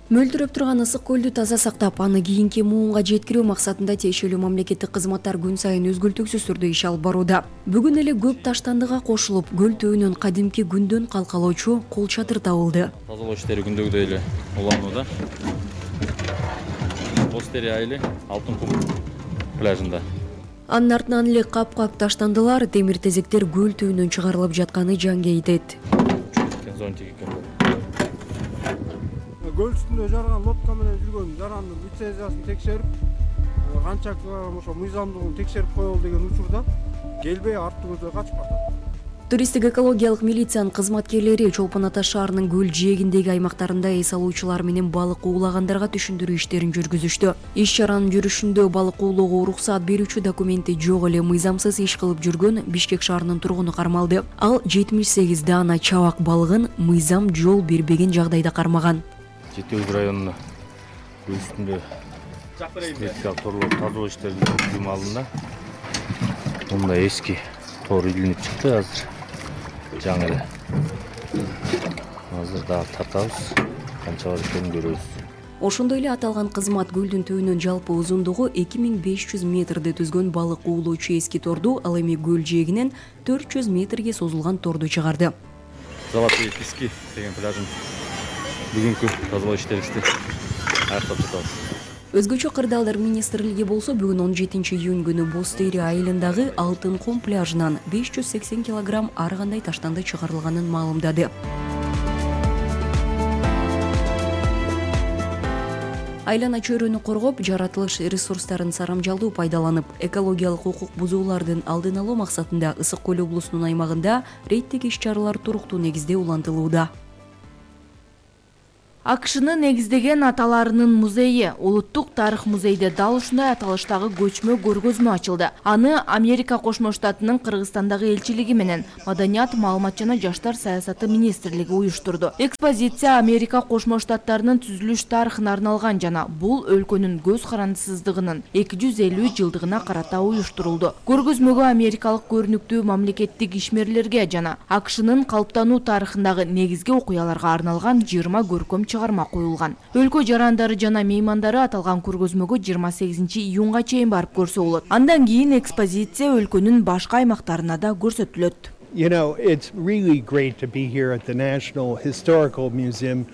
Мөлдүрөп турган ысык көлдү таза сактап, аны кийинки муунга жеткирүү максатында тиешелүү мамлекеттик кызматтар күн сайын үзгүлтүксүз түрдө иш алып барууда. Бүгүн эле көп таштандыга кошулуп, көл түбүнөн кадимки күндөн калкалоочу кол чатыр табылды. Тазалоо иштери күндөгүдөй эле уланууда. Бостери айылы Алтын кум пляжында. Анын артынан эле кап-кап таштандылар, темир тезектер көл түбүнөн чыгарылып жатканы жанга айтет. Көл үстүндө жарган лодка менен жүргөн жарандын лицензиясын текшерип, канча ошо мыйзамдуулугун текшерип коелу деген учурда келбей арттуу көздөй качып калат. Туристтик экологиялык милициянын кызматкерлери Чолпон Ата шаарынын көл жээгиндеги аймактарында эс алуучулар менен балык уулагандарга түшүндүрүү иштерин жүргүзүштү. Иш чаранын жүрүшүндө балык уулоого уруксаат берүүчү документи жок эле мыйзамсыз иш кылып жүргөн Бишкек шаарынын тургуну кармалды. Ал 78 даана чабак балыгын мыйзам жол бербеген жагдайда кармаган. Жетиөз районуна көл үстүндө сметикалык торлорду тазалоо иштерин жүргүзүү маалында мындай эски тор илинип чыкты. Азыр жаңы эле азыр дагы тартабыз, канча бар экенин көрөбүз. Ошондой эле аталган кызмат көлдүн түбүнөн жалпы узундугу 2500 метрди түзгөн балык уулоочу эски торду, ал эми көл жээгинен 400 метрге созулган торду чыгарды. Золотые пески деген пляжын бүгүнкү тазалоо иштерибизди аяктап жатабыз. Өзгөчө кырдаалдар министрлиги болсо бүгүн 17 июнь күнү Бостери айылындагы Алтын кум пляжынан 580 килограмм ар кандай таштанды чыгарылганын маалымдады. Айлана чөйрөнү коргоп, жаратылыш ресурстарын сарамжалдуу пайдаланып, экологиялык укук бузуулардын алдын алуу максатында Ысык көл облусунун аймагында рейдтик иш-чаралар туруктуу негизде улантылууда. АКШнын негиздеген аталарынын музейи Улуттук тарых музейде дал ушундай аталыштагы көчмө көргөзмө ачылды. Аны Америка Кошмо Штатынын Кыргызстандагы элчилиги менен Маданият, маалымат жана жаштар саясаты министрлиги уюштурду. Экспозиция Америка Кошмо Штаттарынын түзүлүш тарыхына арналган жана бул өлкөнүн көз карандысыздыгынын 250 жылдыгына карата уюштурулду. Көргөзмөгө америкалык көрүнүктүү мамлекеттик ишмерлерге жана АКШнын калыптануу тарыхындагы негизги окуяларга арналган 20 көркөм чыгарма коюлган. Өлкө жарандары жана меймандары аталган көргөзмөгө 28 июнга чейин барып көрсө болот. Андан кийин экспозиция өлкөнүн башка аймактарына да көрсөтүлөт. It's really great to be here at the National Historical Museum.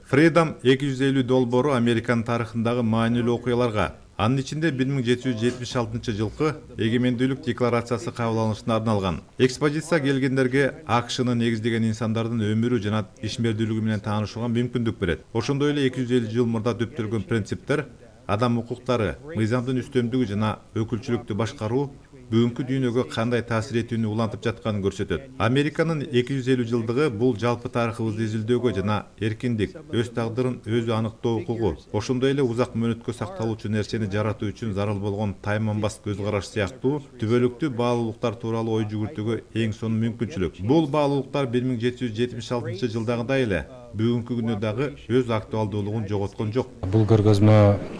Freedom 250 долбоору Американын тарыхындагы маанилүү окуяларга, анын ичинде 1776 жылкы эгемендүүлүк декларациясы кабыл алынышына арналган. Экспозиция келгендерге АКШнын негиздеген инсандардын өмүрү жана ишмердүүлүгү менен таанышууга мүмкүндүк берет. Ошондой эле 250 жыл мурда төптөлгөн принциптер, адам укуктары, мыйзамдын үстөмдүгү жана өкүлчүлүктү башкаруу бүгүнкү дүйнөгө кандай таасир этүүнү улантып жатканын көрсөтөт. Американын 250 жылдыгы бул жалпы тарыхыбызды изилдөөгө жана эркиндик, өз тагдырын өзү аныктоо укугу, ошондой эле узак мөөнөткө сакталуучу нерсени жаратуу үчүн зарыл болгон тайманбас көз караш сыяктуу түбөлүктүү баалуулуктар тууралуу ой жүгүртүүгө эң сонун мүмкүнчүлүк. Бул баалуулуктар 1776 жылдагыдай эле бүгүнкү күндө дагы өз актуалдуулугун жоготкон жок. Бул көргөзмө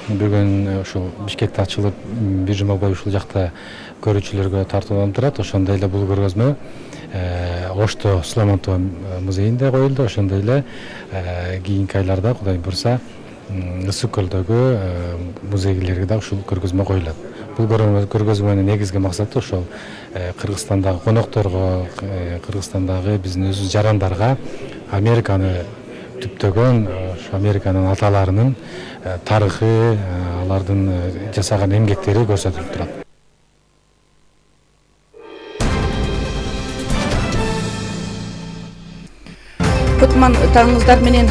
бүгүн ушул Бишкекте ачылып, бир жума бою ушул жакта көрүүчүлөргө тартууланып турат. Ошондой эле бул көргөзмө Ошто Суламонтова музейинде коюлду. Ошондой эле кийинки айларда Кудай буйрса Ысык көлдөгү музейлерге да ушул көргөзмө коюлат. Бул көргөзмөнүн негизги максаты ошол Кыргызстандагы конокторго, Кыргызстандагы биздин өзүбүз жарандарга Американы түптөгөн Американын аталарынын тарыхы, алардын жасаган эмгектери көрсөтүлүп турат. Кутман таңыңыздар менен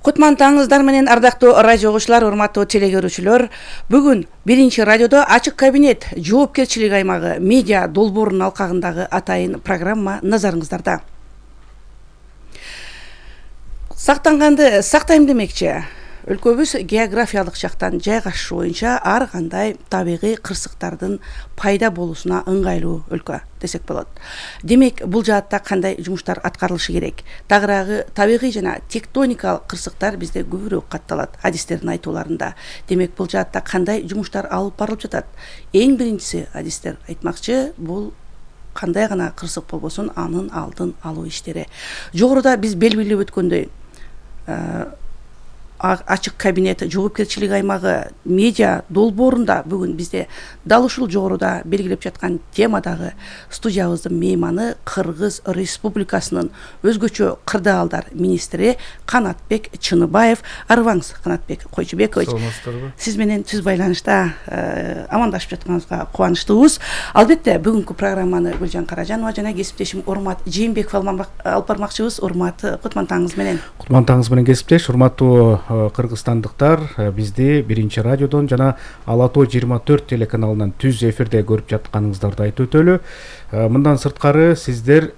Кутман таңыңыздар менен ардактуу радио угуучулар, урматтуу телегөрүүчүлөр. Бүгүн биринчи радиодо ачык кабинет жоопкерчилик аймагы медиа долбоорунун алкагындагы атайын программа назарыңыздарда. Сактанганды сактайм демекчи. Өлкөбүз географиялык жактан жайгашышы боюнча ар кандай табигый кырсыктардын пайда болуусуна ыңгайлуу өлкө десек болот. Демек, бул жаатта кандай жумуштар аткарылышы керек? Тагыраагы табигый жана тектоникалык кырсыктар бизде көбүрөөк катталат адистердин айтууларында. Демек, бул жаатта кандай жумуштар алып барылып жатат? Эң биринчиси адистер айтмакчы, бул кандай гана кырсык болбосун анын алдын алуу иштери. Жогоруда биз белгилеп өткөндөй ачык кабинет жоопкерчилик аймагы медиа долбоорунда бүгүн бизде дал ушул жогоруда белгилеп жаткан темадагы студиябыздын мейманы Кыргыз Республикасынын өзгөчө кырдаалдар министри Канатбек Чыныбаев. Арыбаңыз, Канатбек Койчубекович. Саламатсыздарбы? Сиз менен түз байланышта амандашып жатканыбызга кубанычтуубуз. Албетте бүгүнкү программаны Гүлжан Каражанова жана кесиптешим Урмат Жээнбеков алып бармакчыбыз. Урмат, кутман таңыңыз менен. Кутман таңыңыз менен кесиптеш. Урматтуу кыргызстандыктар, бизди биринчи радиодон жана Ала Тоо 24 телеканалынан түз эфирде көрүп жатканыңыздарды айтып өтөлү. Мындан сырткары сиздер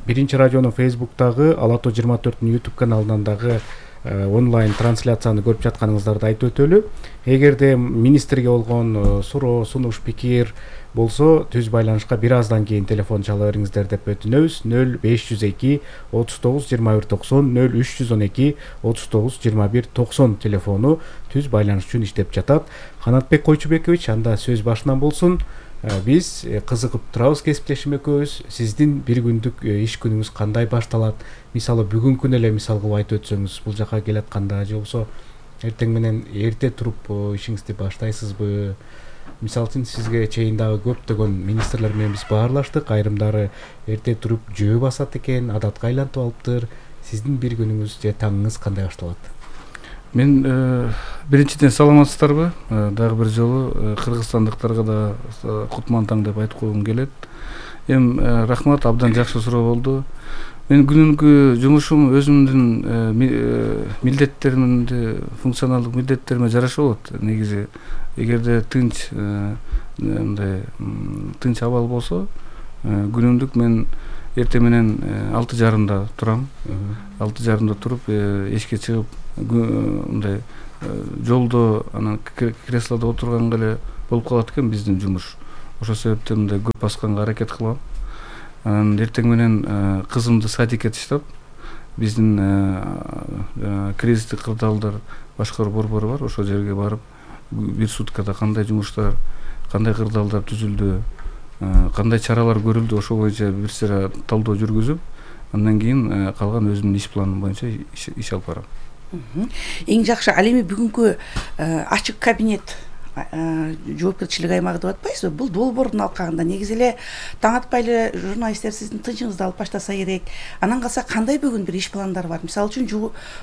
биринчи радионун Facebook'тагы Ала Тоо 24-тün YouTube каналынан дагы онлайн трансляцияны көрүп жатканыңыздарды айтып өтөлү. Эгерде министрге болгон суроо, сунуш, пикир болсо түз байланышка бир аздан кийин телефон чала бериңиздер деп өтүнөбүз. 0502 39 21 90 0312 39 21 90 телефону түз байланыш үчүн иштеп жатат. Канатбек Койчубекович, анда сөз башынан болсун. Биз кызыгып турабыз кесиптешим экөөбүз. Сиздин бир күндүк иш күнүңүз кандай башталат? Мисалы бүгүнкүн эле мисал кылып айтып өтсөңүз, бул жака келатканда же болбосо эртең менен эрте туруп ишиңизди баштайсызбы? Мисалы үчүн сизге чейин дагы көптөгөн министрлер менен биз баарлаштык. Айрымдары эрте туруп жөө басат экен, адатка айлантып алыптыр. Сиздин бир күнүңүз же таңыңыз кандай башталат? Мен биринчиден саламатсыздарбы? Дагы бир жолу кыргызстандыктарга да кутман таң деп айтып койгум келет. Рахмат, абдан жакшы суроо болду. Мен күнүнкү жумушум өзүмдүн милдеттеримди, функционалдык милдеттериме жараша болот. Негизи эгерде тынч абал болсо, күнүмдүк мен эртең менен 6:30 турам. 6:30 туруп эшикке чыгып, мындай жолдо анан креслодо отурганга эле болуп калат экен биздин жумуш. Ошол себептен мындай көп басканга аракет кылам. Анан эртең менен кызымды садикке таштап, биздин кризистик кырдаалдар башкаруу борбору бар. Ошол жерге барып, бир суткада кандай жумуштар, кандай кырдаалдар түзүлдү, кандай чаралар көрүлдү, ошол боюнча бир сыйра талдоо жүргүзүп, андан кийин калган өзүмдүн иш планым боюнча иш алып барам. Эң жакшы, ал эми бүгүнкү ачык кабинет жоопкерчилик аймагы деп атпайсызбы? Бул долбоордун алкагында негизи эле таң атпай эле журналисттер сиздин тынчыңызды алып баштаса керек. Анан калса кандай бүгүн бир иш пландар бар? Мисалы үчүн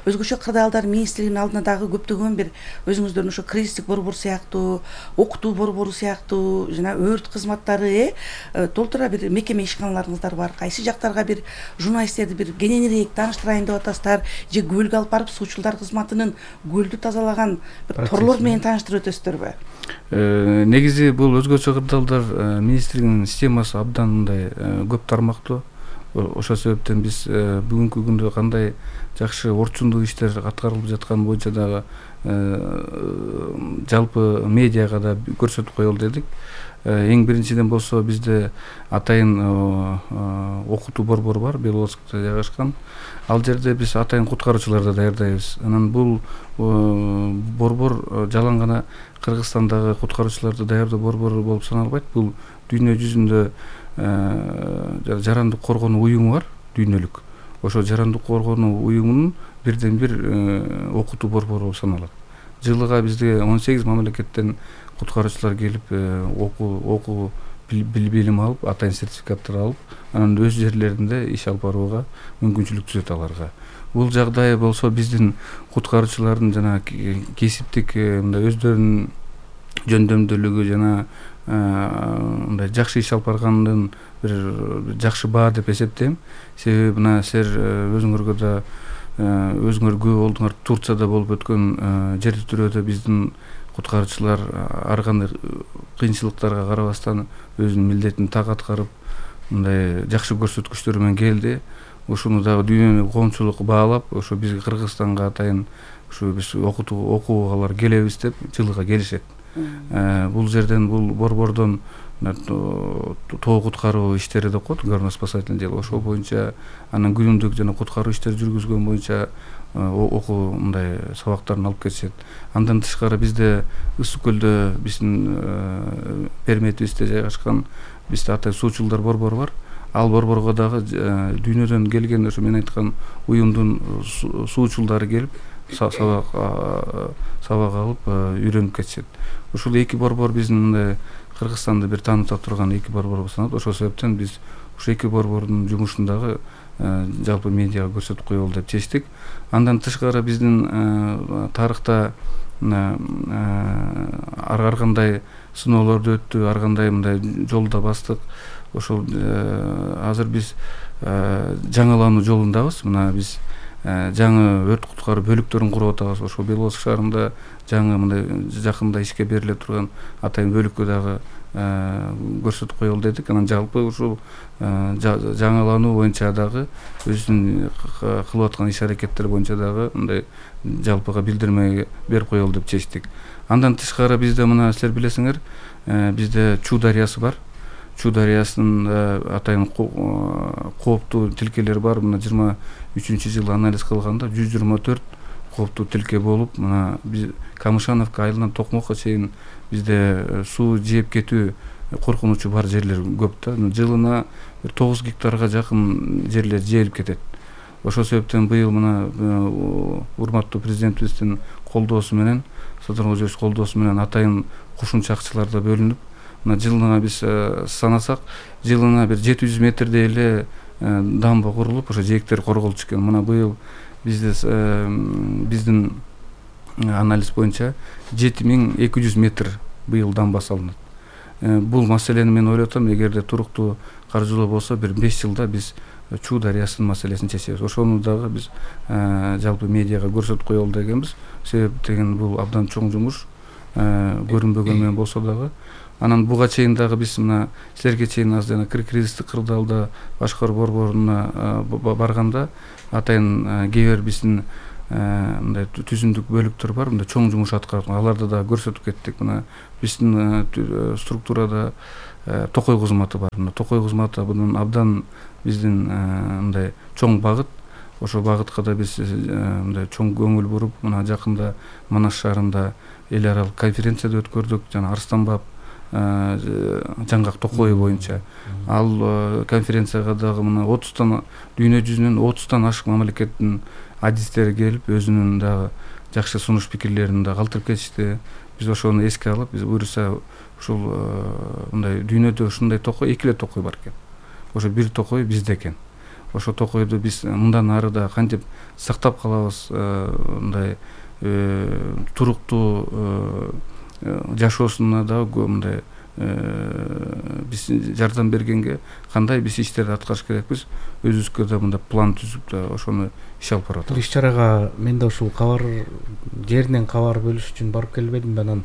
өзгөчө кырдаалдар министрлигинин алдына дагы көптөгөн бир өзүңүздөрдүн ошо кризистик борбор сыяктуу, окутуу борбору сыяктуу жана өрт кызматтары толтура бир мекеме ишканаларыңыздар бар. Кайсы жактарга бир журналисттерди бир кененирээк тааныштырайын деп атасыздар, же көлгө алып барып суучулдар кызматынын көлдү тазалаган бир торлор менен тааныштырып өтөсүздөрбү? Негизи бул өзгөчө кырдаалдар министрлигинин системасы абдан мындай көп тармактуу. Ошол себептен биз бүгүнкү күндө кандай жакшы орчундуу иштер аткарылып жатканы боюнча дагы жалпы медиага да көрсөтүп коелу дедик. Эң биринчиден болсо бизде атайын окутуу борбору бар, Белоскто жайгашкан. Ал жерде биз атайын куткаруучуларды даярдайбыз. Анан бул борбор жалаң гана Кыргызстандагы куткаруучуларды даярдоо борбору болуп саналбайт. Бул дүйнө жүзүндө жарандык коргонуу уюму бар, дүйнөлүк. Ошо жарандык коргонуу уюмунун бирден бир окутуу борбору болуп саналат. Жылыга бизде 18 мамлекеттен куткаруучулар келип окуу билим алып, атайын сертификаттар алып, анан өз жерлеринде иш алып барууга мүмкүнчүлүк түзөт аларга. Бул жагдай болсо биздин куткаруучулардын жана кесиптик мындай өздөрүнүн жөндөмдүүлүгү жана мындай жакшы иш алып барганын бир жакшы баа деп эсептейм. Себеби мына силер өзүңөргө да өзүңөр көп болдуңар, Турцияда болуп өткөн жер титирөөдө биздин куткаруучулар ар кандай кыйынчылыктарга карабастан өзүнүн милдетин так аткарып, мындай жакшы көрсөткүчтөр менен келди. Ошону дагы дүйнөлүк коомчулук баалап, ошо бизге Кыргызстанга атайын ушу биз окуугалар келебиз деп жылыга келишет. Бул жерден бул борбордон тоо куткаруу иштери деп коет, горно-спасательный дело. Ошол боюнча анан күнүмдүк жана куткаруу иштери жүргүзгөн боюнча окуу мындай сабактарын алып кетишет. Андан тышкары бизде Ысык көлдө биздин перметибизде жайгашкан бизде атай суучулдар борбору бар. Ал борборго дагы дүйнөдөн келген ошо мен айткан уюмдун суучулдары келип сабак алып үйрөнүп кетишет. Ушул эки борбор биздин мындай Кыргызстанды бир тааныта турган эки борбор саналат. Ошол себептен биз ушу эки борбордун жумушун дагы жалпы медиага көрсөтүп коелу деп чечтик. Андан тышкары биздин тарыхта ар кандай сыноолорду өттү, ар кандай мындай жолдо бастык. Ошол азыр биз жаңылануу жолундабыз. Мына биз жаңы өрт куткаруу бөлүктөрүн куруп атабыз. Ошол Белоосов шаарында жаңы мындай жакында ишке бериле турган атайын бөлүккө дагы көрсөтүп коелу дедик. Анан жалпы ушул жаңылануу боюнча дагы өзүнүн кылып аткан иш аракеттери боюнча дагы мындай жалпыга билдирме берип коелу деп чечтик. Андан тышкары бизде мына силер билесиңер, бизде Чуу дарыясы бар. Чуу дарыясынын атайын кооптуу тилкелери бар. Мына 23-жылы анализ кылганда 124 кооптуу тилке болуп, мына биз Камышановка айылынан Токмокко чейин бизде суу жеп кетүү коркунучу бар жерлер көп да. Жылына 9 гектарга жакын жерлер жээлип кетет. Ошол себептен быйыл мына урматтуу президентибиздин колдоосу менен, Садыр Кожоевич колдоосу менен атайын кошумча акчалар да бөлүнүп, мына жылына биз санасак, жылына бир 700 метрдей эле дамба курулуп, ошо жээктер корголчу экен. Мына быйыл биздин анализ боюнча 7200 метр быйыл дамба салынат. Бул маселени мен ойлоп атам, эгерде туруктуу каржылоо болсо, бир 5 жылда биз Чуу дарыясынын маселесин чечебиз. Ошону дагы биз жалпы медиага көрсөтүп коелу дегенбиз. Себеп деген бул абдан чоң жумуш, көрүнбөгөн менен болсо дагы. Анан буга чейин дагы биз мына силерге чейин аз жана кризистик кырдаалда башкаруу борборуна барганда атайын кээ бир биздин мындай түзүмдүк бөлүктөр бар, мындай чоң жумуш аткарып, аларды да көрсөтүп кеттик. Мына биздин структурада Токой кызматы бар. Мына Токой кызматы бунун абдан биздин мындай чоң багыт. Ошол багытка да биз мындай чоң көңүл буруп, мына жакында Манас шаарында эл аралык конференция өткөрдүк, жана Арстанбап жаңгак Токой боюнча. Ал конференцияга дагы мына 30тан дүйнө жүзүнөн 30тан ашык мамлекеттин адистери келип, өзүнүн дагы жакшы сунуш пикирлерин да калтырып кетишти. Биз ошону эске алып, биз буюрса ушул мындай дүйнөдө ушундай Токой, эки эле Токой бар экен. Ошо бир Токой бизде экен. Ошо Токойду биз мындан ары да кантип сактап калабыз, мындай туруктуу жашоосуна дагы мындай биз жардам бергенге кандай биз иштерди аткарыш керекпиз, өзүбүзгө да мындай план түзүп да ошону иш алып баратабыз. Иш чарага мен да ушул кабар жеринен кабар бөлүш үчүн барып келбедим. Анан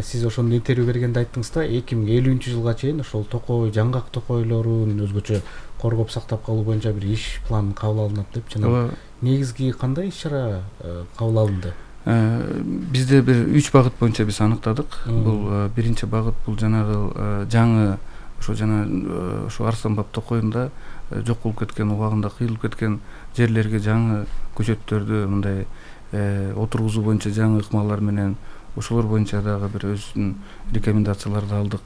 сиз ошондо интервью бергенде айттыңыз да, 2050-жылга чейин ошол Токой, жаңгак Токойлорун өзгөчө коргоп сактап калуу боюнча бир иш план кабыл алынат деп. Жана негизги кандай иш чара кабыл алынды? Бизде бир 3 багыт боюнча биз аныктадык. Бул биринчи багыт бул жанагы жаңы ошо Арстанбап Токойунда жок болуп кеткен, убагында кыйылып кеткен жерлерге жаңы көчөттөрдү мындай отургузуу боюнча жаңы ыкмалар менен ошолор боюнча дагы бир өзүнүн рекомендацияларды алдык.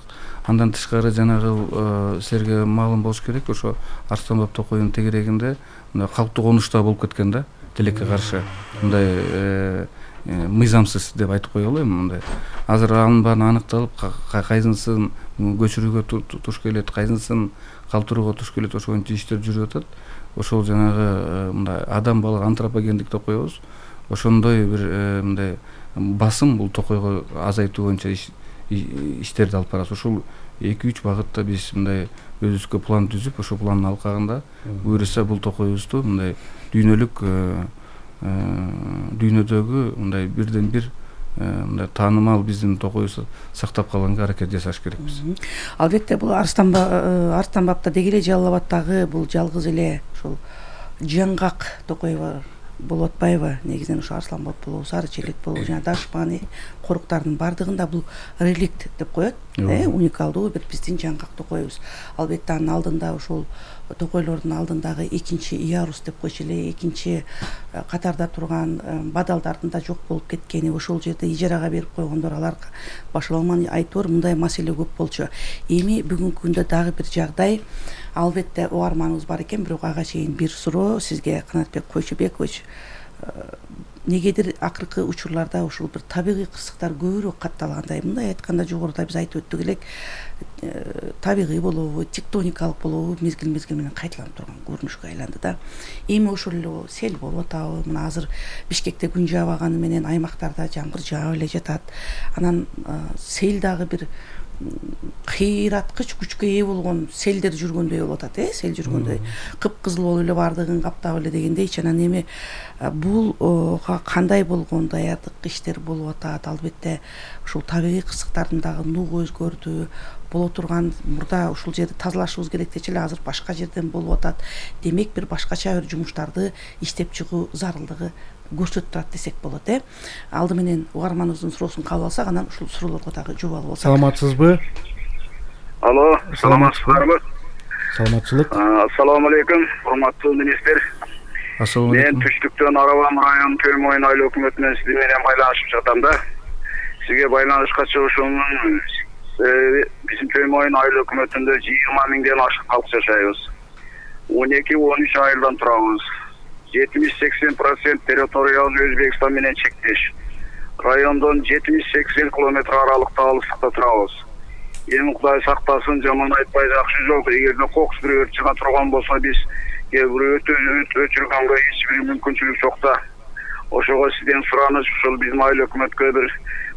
Андан тышкары жанагы силерге маалым болуш керек, ошо Арстанбап Токойдун тегерегинде мындай калктуу конушта болуп кеткен да, тилекке каршы. Мындай мыйзамсыз деп айтып коелу эми мындай. Азыр анын баары аныкталып, кайсынысын көчүрүүгө туш келет, кайсынысын калтырууга туш келет, ошол боюнча иштер жүрүп атат. Ошол жанагы мындай адам балык антропогендик деп коебуз. Ошондой бир мындай басым бул Токойго азайтуу боюнча иштерди алып барабыз. Ошол 2-3 багытта биз мындай өзүбүзгө план түзүп, ошол пландын алкагында буюрса бул Токойубузду мындай дүйнөлүк дүйнөдөгү мындай бирден бир мындай таанымал биздин Токойубузду сактап калганга аракет жасаш керекпиз. Албетте бул Арстанбапта деги эле Жалал Абадтагы бул жалгыз эле ошол жаңгак Токой болуп атпайбы? Негизинен ошо Арсланбап болобу, Сары Челек болобу, жана Дашманы, коруктардын баардыгында бул реликт деп коет, уникалдуу бир биздин жаңгактуу коебуз. Албетте анын алдында ошол токойлордун алдындагы экинчи Иарус деп койчу эле, экинчи катарда турган бадалдардын да жок болуп кеткени, ошол жерде ижарага берип койгондор, алар башаламан айтор мындай маселе көп болчу. Эми бүгүнкү күндө дагы бир жагдай, албетте угарманыбыз бар экен, бирок ага чейин бир суроо сизге, Канатбек Койчубекович. Негедир акыркы учурларда ушул бир табигый кырсыктар көбүрөөк катталгандай, мындай айтканда жогоруда биз айтып өттүк элек, табигый болобу, тектоникалык болобу, мезгил менен кайталанып турган көрүнүшкө айланды да. Эми ошол эле сел болуп атабы, мына азыр Бишкекте күн жаабаганы менен аймактарда жамгыр жаап эле жатат. Анан сел дагы бир кыйраткыч күчкө ээ болгон селдер жүргөндөй болуп атат, сел жүргөндөй. Кыпкызыл болуп эле баардыгын каптап эле дегендейчи. Анан эми булга кандай болгон даярдык иштер болуп атат? Албетте ушул табигый кырсыктардын дагы нугу өзгөрдү. Боло турган мурда ушул жерди тазалашыбыз керек дечи эле, азыр башка жерден болуп атат. Демек бир башкача бир жумуштарды иштеп чыгуу зарылдыгы көрсөтүп турат десек болот. Алды менен угарманыбыздын суроосун кабыл алсак, анан ушул суроолорго дагы жообал болсок. Саламатсызбы? Алло, саламатсызбы? Саламатчылык. Ассаламу алейкум, урматтуу министр. Ассаламу алейкум. Мен Түштүктөн Арабам район Төм Ойын айлуу өкмөтүнөн сиз менен байланышып жатам да. Сизге байланышка чыгышуумдун биздин Төм Ойын айлуу өкмөтүндө 20 миңден ашык калк жашайбыз. 12-13 айылдан турабыз. 70-80% территориялы Өзбекстан менен чектеш. Райондон 70-80 километр аралыкта алыстыкта турабыз. Эми Кудай сактасын, жаман айтпай жакшы жок. Эгерде кокус бир өрт чыга турган болсо, биз өчүргөнгө эч бир мүмкүнчүлүк жок да. Ошого сизден сураныч, ушул биздин айыл өкмөткө бир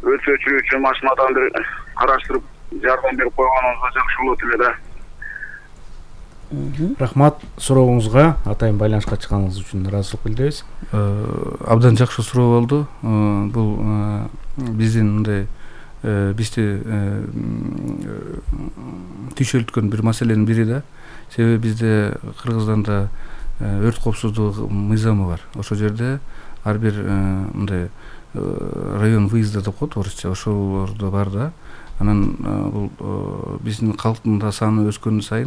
өрт өчүрүүчү машинадан бир караштырып жардам берип койгонуңузга жакшы болот эле да. Рахмат сурооңузга, атайын байланышка чыкканыңыз үчүн ыраазычылык билдиребиз. Абдан жакшы суроо болду. Бул биздин мындай бизди түйшөлткөн бир маселенин бири да. Себеби бизде Кыргызстанда өрт коопсуздугу мыйзамы бар. Ошол жерде ар бир мындай район выезда деп коет орусча, ошолордо бар да. Анан бул биздин калктын да саны өскөн сайын